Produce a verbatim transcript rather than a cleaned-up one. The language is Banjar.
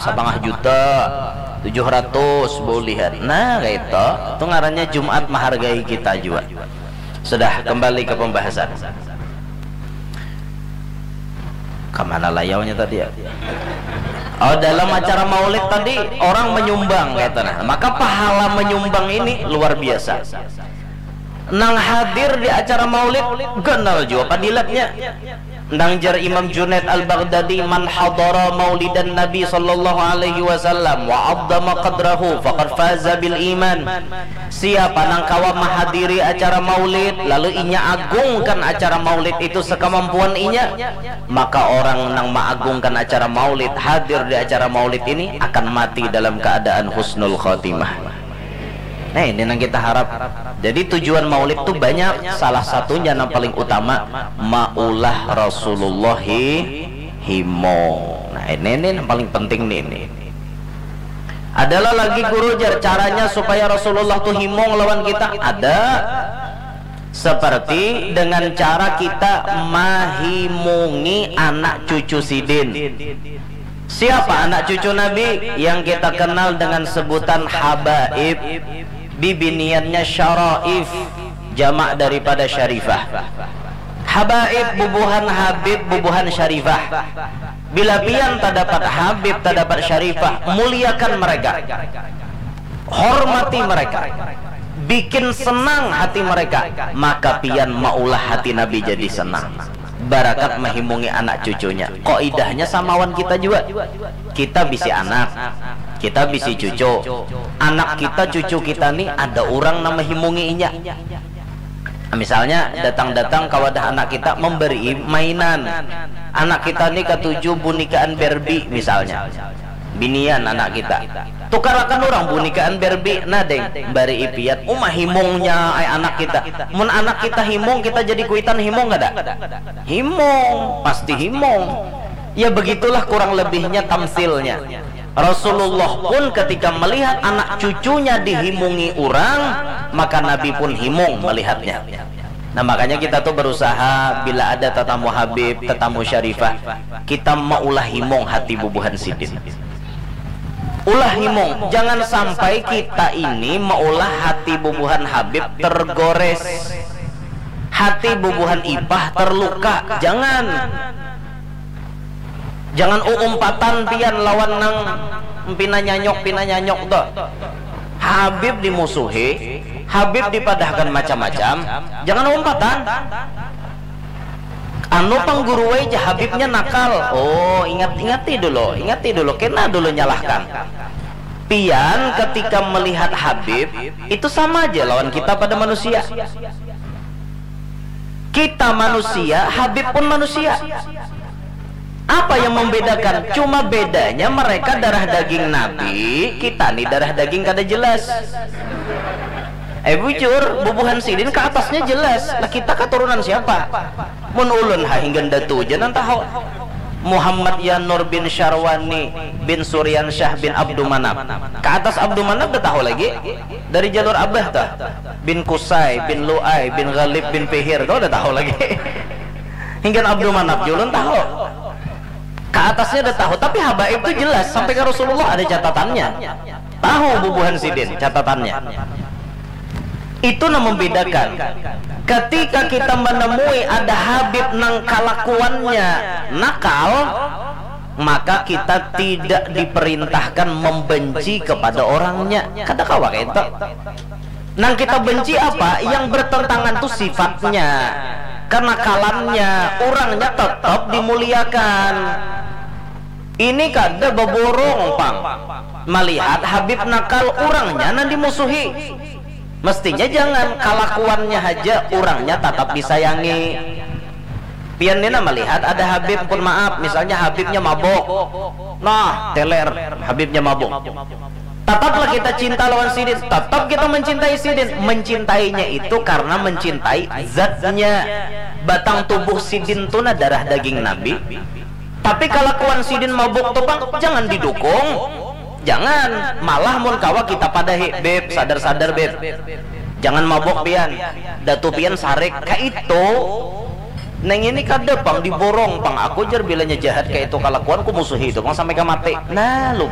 Sapangah juta, tujuh ratus bulihan. Nah, kaitu. Itu ngarannya Jumat mahargai kita jua. Sudah, kembali ke pembahasan. Kamana layaunya tadi ya? Oh, dalam acara maulid tadi orang menyumbang kaitu nah. Maka pahala menyumbang ini luar biasa. Nang hadir di acara maulid ganal jua padilatnya. Nang jar Imam Junaid Al-Baghdadi, "Man hadara maulidan Nabi sallallahu alaihi wasallam wa 'azzama qadrahu faqad faza bil iman." Siapa nang kawa mahadiri acara maulid lalu inya agungkan acara maulid itu sekemampuan inya, maka orang nang maagungkan acara maulid, hadir di acara maulid ini akan mati dalam keadaan husnul khotimah. Nah, ini yang kita harap. Jadi tujuan maulid tuh banyak, salah satunya yang paling utama maulah Rasulullah hi- himung. Nah, ini ini yang paling penting nih ini. Adalah lagi guru jar caranya supaya Rasulullah tuh himung lawan kita. Ada seperti dengan cara kita mahimungi anak cucu sidin. Siapa anak cucu Nabi? Yang kita kenal dengan sebutan habaib. Bibiniannya syaraif, jamak daripada syarifah. Habaib bubuhan habib bubuhan syarifah. Bila pian tadapat habib tadapat syarifah, muliakan mereka. Hormati mereka. Bikin senang hati mereka, maka pian maulah hati Nabi jadi senang. Barakat mahimungi anak cucunya. Kaidahnya samawan kita jua. Kita bisi anak, kita bisi cucu. Anak kita, cucu kita nih ada orang nang mahimungi inya. Misalnya datang-datang ka wadah anak kita memberi mainan. Anak kita nih katuju bunikaan Barbie misalnya. Binian anak kita. Tukarakan orang bunikaan Barbie, nah deng, bari ipian. Uma himungnya ai anak kita. Mun anak kita himung, kita jadi kuitan himung kada? Himung, pasti himung. Ya begitulah kurang lebihnya tamsilnya. Rasulullah pun ketika melihat anak cucunya dihimungi orang, maka Nabi pun himung melihatnya. Nah, makanya kita tuh berusaha bila ada tetamu Habib, tetamu Syarifah, kita maulah himung hati bubuhan sidin. Ulah himung, jangan sampai kita ini maulah hati bubuhan Habib tergores. Hati bubuhan Ipah terluka, jangan. Jangan uumpatan pian lawan nang pina nyanyok, pina nyanyok tuh. Habib dimusuhi, Habib dipadahkan macam-macam, jangan uumpatan. Anu pang guru ai ja Habibnya nakal. Oh, ingat, ingati dulu, ingati dulu, kena dulu nyalahkan. Pian ketika melihat Habib, itu sama aja lawan kita pada manusia. Kita manusia, Habib pun manusia. Apa yang membedakan? Cuma bedanya mereka darah daging Nabi, kita nih darah daging kada jelas. Eh bujur, bubuhan sidin ke atasnya jelas. Lah kita keturunan siapa? Mun ulun ha hinggan datu ja nang tahu. Muhammad Yanur bin Syarwani bin Suryansyah bin Abdul Manaf. Ke atas Abdul Manaf dah tahu lagi. Dari jalur abah tuh. Bin Kusai, bin Luai, bin Ghalib, bin Fihir tuh dah tahu lagi. Hinggan Abdul Manaf ja ulun tahu. Ke atasnya dah tahu, tapi habaib tuh jelas sampai ke Rasulullah ada catatannya. Tahu bubuhan sidin catatannya. Itu nang membedakan. Ketika kita menemui ada Habib nang kalakuannya nakal, maka kita tidak diperintahkan membenci kepada orangnya. Kada kawa kaitu. Nang kita benci apa? Yang bertentangan tuh sifatnya, kenakalannya, orangnya tetap dimuliakan. Ini kada beborong pang. Melihat Habib nakal, orangnya nang dimusuhi. Mestinya jangan, kalakuannya haja, orangnya tatap disayangi. Pian ni nah melihat ada Habib, pun maaf, misalnya Habibnya mabok, nah teler, Habibnya mabok. Tataplah kita cinta lawan sidin, tatap kita mencintai sidin. Mencintainya itu karena mencintai zatnya. Batang tubuh sidin tu nah darah daging Nabi. Tapi kalakuan sidin mabuk tu pang jangan didukung. Jangan, malah mun kawa kita padahi, "Beb, sadar-sadar, Beb. Jangan mabuk pian. Datu pian sarik." Kaitu. Neng ini kada pang diborong pang aku jar bilanya jahat kaya itu kalakuan ku musuhi itu pang sampai ka mati nah lu